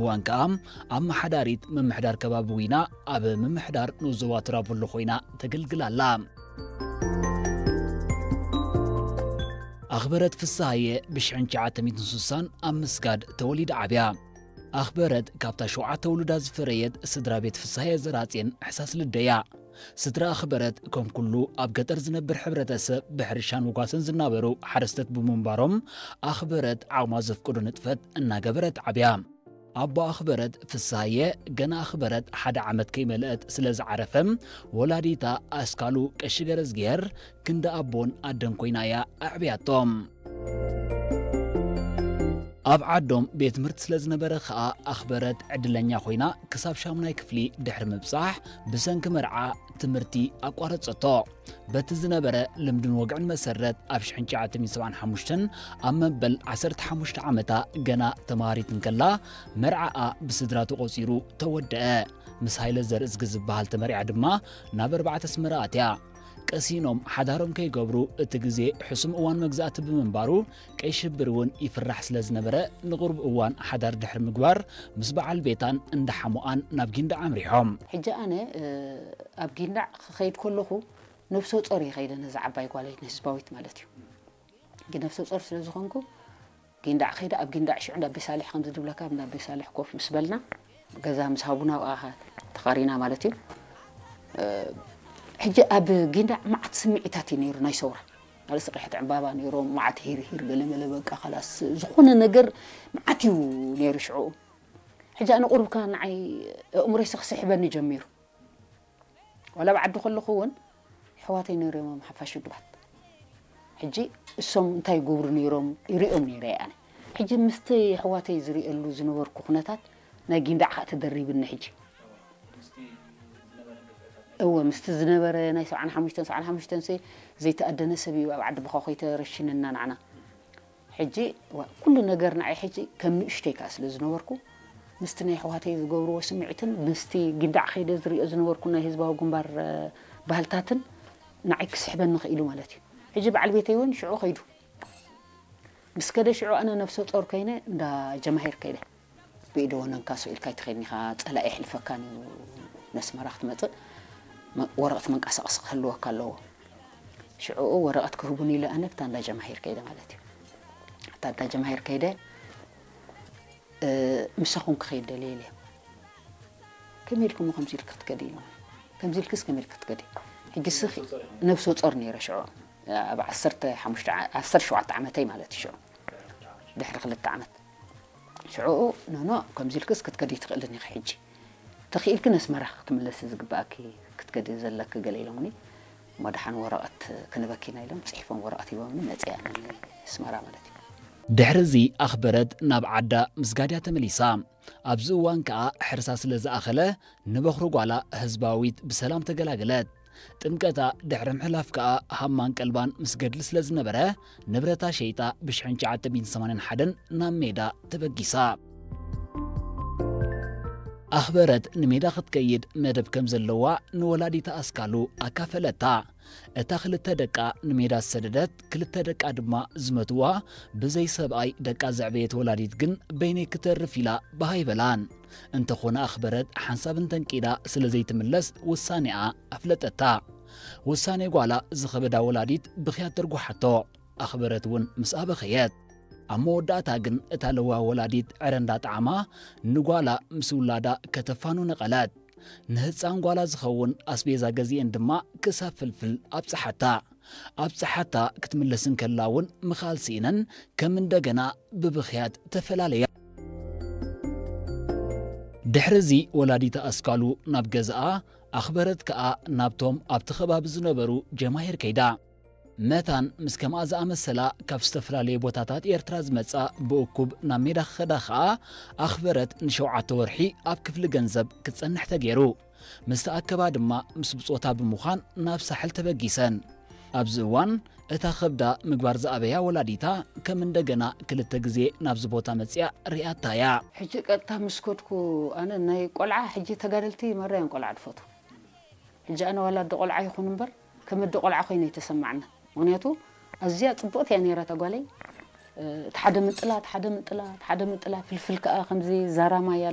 እዋን ከኣ ኣመሓዳሪት ምምሕዳር ከባቢ ዊና ኣብ ምምሕዳር ንኡስ ዞባ ቱራቦሎ ኮይና ተገልግል ኣላ። ኣኽበረት ፍስሃየ ብሽሕን ትሽዓተ ሚእትን ስሳን ኣብ ምስጋድ ተወሊዳ ዓብያ። ኣኽበረት ካብታ ሸውዓተ ውሉዳ ዝፈረየት ስድራ ቤት ፍስሃየ ዘራጽዮን ሕሳስ ልደያ። ስድራ ኣኽበረት ከም ኩሉ ኣብ ገጠር ዝነብር ሕብረተሰብ ብሕርሻን ውጓሰን ዝናበሩ ሓረስተት ብምንባሮም ኣኽበረት ዓቕማ ዘፍቅዶ ንጥፈት እናገበረት ዓብያ። ኣቦ ኣኽበረት ፍስሃየ ገና ኣኽበረት ሓደ ዓመት ከይመልአት ስለ ዝዓረፈ ወላዲታ ኣስካሉ ቀሺ ገረዝግሄር ክንዲ ኣቦን ኣደን ኮይና እያ ኣዕብያቶም። ኣብ ዓዶም ቤት ትምህርቲ ስለ ዝነበረ ኸኣ ኣኽበረት ዕድለኛ ኮይና ክሳብ ሻሙናይ ክፍሊ ድሕሪ ምብጻሕ ብሰንኪ መርዓ ትምህርቲ ኣቋረጸቶ። በቲ ዝነበረ ልምድን ወግዕን መሰረት ኣብ ሽሕን ትሽዓተ ሚእትን ሰብዓን ሓሙሽተን ኣብ መበል ዓሰርተ ሓሙሽተ ዓመታ ገና ተማሃሪት እንከላ መርዓኣ ብስድራ ተቖጺሩ ተወደአ። ምስ ሃይለ ዘርእዝጊ ዝበሃል ተመርዓ ድማ ናብ ኣርባዕተ ኣስመራ ኣትያ። ቀሲኖም ሓዳሮም ከይገብሩ እቲ ግዜ ሕሱም እዋን መግዛእቲ ብምንባሩ ቀይ ሽብር እውን ይፍራሕ ስለ ዝነበረ ንቕሩብ እዋን ሓዳር ድሕሪ ምግባር ምስ በዓል ቤታን እንዳ ሓሙኣን ናብ ጊንዳዕ ኣምሪሖም። ሕጂ ኣነ ኣብ ጊንዳዕ ክኸይድ ከለኹ ነብሰ ጾር እየ ከይደ ነዛ ዓባይ ጓለይ ንህዝባዊት ማለት እዩ። ግን ነብሰ ጾር ስለ ዝኾንኩ ጊንዳዕ ከይደ ኣብ ጊንዳዕ ሽዑ እንዳ ኣቤ ሳልሕ ከምዚ ድብለካ እንዳ ኣቤ ሳልሕ ኮፍ ምስ በልና ገዛ ምስ ሃቡና ኣብኣ ተኻሪና ማለት እዩ። ሕጂ ኣብ ጊንዳዕ መዓት ስምዒታት እዩ ነይሩ ናይ ሰውራ ማለት ቀሕቲ ዕምባባ ነይሮም መዓት ሂር ሂር ገለ መለ በቃ ካላስ ዝኾነ ነገር መዓት እዩ ነይሩ ሽዑ። ሕጂ ኣነ ቁሩብካ ንዓይ ኣእምሮይሲ ክስሕበኒ ጀሚሩ። ዋላ ኣብ ዓዲ ከለኹ እውን ኣሕዋተይ ነይሮም ሓፋሽ ውድባት። ሕጂ እሶም እንታይ ይገብሩ ነይሮም ይሪኦም ነይረ እየ ኣነ። ሕጂ ምስቲ ኣሕዋተይ ዝሪእሉ ዝነበርኩ ኩነታት ናይ ጊንዳዕ ከዓ ተደሪብኒ ሕጂ። እወ ምስቲ ዝነበረ ናይ ሰብዓን ሓሙሽተን ሰብዓን ሓሙሽተን ዘይተኣደነ ሰብ እዩ ኣብ ዓዲ ብኻ ኮይተረሽንና ንዓና። ሕጂ ኩሉ ነገር ንዓይ ሕጂ ከም ንእሽተይ ከኣ ስለ ዝነበርኩ ምስቲ ናይ ኣሕዋተይ ዝገብርዎ ስምዒትን ምስቲ ጊንዳዕ ከይደ ዝሪኦ ዝነበርኩ ናይ ህዝባዊ ግንባር ባህልታትን ንዓይ ክስሕበኒ ክኢሉ ማለት እዩ። ሕጂ በዓል ቤተይ እውን ሽዑ ከይዱ ምስ ከደ ሽዑ ኣነ ነብሰ ጾር ከይነ እንዳ ጀማሂር ከይደ ብኢደ ወነንካ ስኢልካ ኣይትኸይድን ኢኻ፣ ጸላኢ የሕልፈካን እዩ። ነስመራ ክትመጽእ ወረቐት መንቀሳቐሲ ክህልወካ ኣለዎ። ሽዑኡ ወረቐት ክህቡኒ ኢለ ኣነ ብታ እንዳ ጀማሂር ከይደ ማለት እዩ። እታ እንዳ ጀማሂር ከይደ ምሳኹም ክኸይድ ደልየ ኢለ። ከመይ ኢልኩም ከምዚ ኢልክ ክትከዲ ኢሎም። ከምዚ ኢልክስ ከመይ ኢልክ ክትከዲ? ሕጂ ስኺ ነብሰ ጾር ነይረ ሽዑ ኣብ ዓሰርተ ሓሙሽተ ዓሰርተ ሸውዓተ ዓመተይ ማለት እዩ ሽዑ ድሕሪ ክልተ ዓመት ሽዑኡ ኖኖ ከምዚ ኢልክስ ክትከዲ ትኽእልን ኢኺ ሕጂ ተኽኢልክን ኣስመራ ክትምለሲ ዝግባኣኪ ክትከዲ ዘለኪ ገለ ኢሎምኒ እሞ ደሓን ወረቐት ክንበኪና ኢሎም ፅሒፎም ወረቐት ሂቦምኒ መፅያ ኣስመራ ማለት እዩ። ድሕሪ እዚ ኣኽበረት ናብ ዓዳ ምስ ጋድያ ተመሊሳ። ኣብዚ እዋን ከኣ ሕርሳ ስለ ዝኣኸለ ንበኹሪ ጓላ ህዝባዊት ብሰላም ተገላገለት። ጥምቀታ ድሕሪ ምሕላፍ ከኣ ሃማን ቀልባን ምስ ገድሊ ስለ ዝነበረ ንብረታ ሸይጣ ብሽሕን ትሽዓተ ሚእትን ሰማንያን ሓደን ናብ ሜዳ ተበጊሳ። ኣኽበረት ንሜዳ ክትከይድ መደብ ከም ዘለዋ ንወላዲታ ኣስካሉ ኣካፈለታ። እታ ክልተ ደቃ ንሜዳ ዝሰደደት ክልተ ደቃ ድማ ዝመትዋ ብዘይ ሰብኣይ ደቃ ዘዕበየት ወላዲት ግን በይነይ ክተርፍ ኢላ ብሃ ኣይበላን። እንተኾነ ኣኽበረት ሓንሳብ እንተንቂዳ ስለ ዘይትምለስ ውሳኔኣ ኣፍለጠታ። ውሳኔ ጓላ ዝኸበዳ ወላዲት ብኽያት ተርጉሓቶ። ኣኽበረት እውን ምስኣ በኸየት። ኣብ መወዳእታ ግን እታ ለዋህ ወላዲት ዕረ እንዳጠዓማ ንጓላ ምስ ውላዳ ከተፋኑ ነቐለት። ንህፃን ጓላ ዝኸውን ኣስቤዛ ገዚኤን ድማ ክሳብ ፍልፍል ኣብፅሓታ። ኣብፅሓታ ክትምለስ እንከላ እውን ምኻል ስኢነን ከም እንደገና ብብኽያት ተፈላለያ። ድሕሪ እዚ ወላዲታ ኣስካሉ ናብ ገዛኣ ኣኽበረት ከኣ ናብቶም ኣብቲ ከባቢ ዝነበሩ ጀማሂር ከይዳ። መታን ምስ ከምኣ ዝኣመሰላ ካብ ዝተፈላለየ ቦታታት ኤርትራ ዝመጻ ብእኩብ ናብ ሜዳ ክኸዳ ከኣ ኣኽበረት ንሸውዓተ ወርሒ ኣብ ክፍሊ ገንዘብ ክትጸንሕ ተገይሩ። ምስ ተኣከባ ድማ ምስ ብጾታ ብምዃን ናብ ሳሕል ተበጊሰን። ኣብዚ እዋን እታ ከብዳ ምግባር ዝኣበያ ወላዲታ ከም እንደገና ክልተ ግዜ ናብዚ ቦታ መጺኣ ርእያታ እያ። ሕጂ ቀጥታ ምስ ከድኩ ኣነ ናይ ቆልዓ ሕጂ ተጋደልቲ መራዮም ቆልዓ ድፈቱ ሕጂ ኣነ ዋላ ኣደ ቆልዓ ይኹን እምበር ከም ኣደ ቆልዓ ኮይነ ይተሰማዕና። ምክንያቱ ኣዝያ ጽብቕቲ እያ ነይራ እታ ጓለይ። እቲ ሓደ ምንጥላ፣ እቲ ሓደ ምንጥላ፣ እቲ ሓደ ምንጥላ ፍልፍል ከኣ ከምዚ ዛራማያ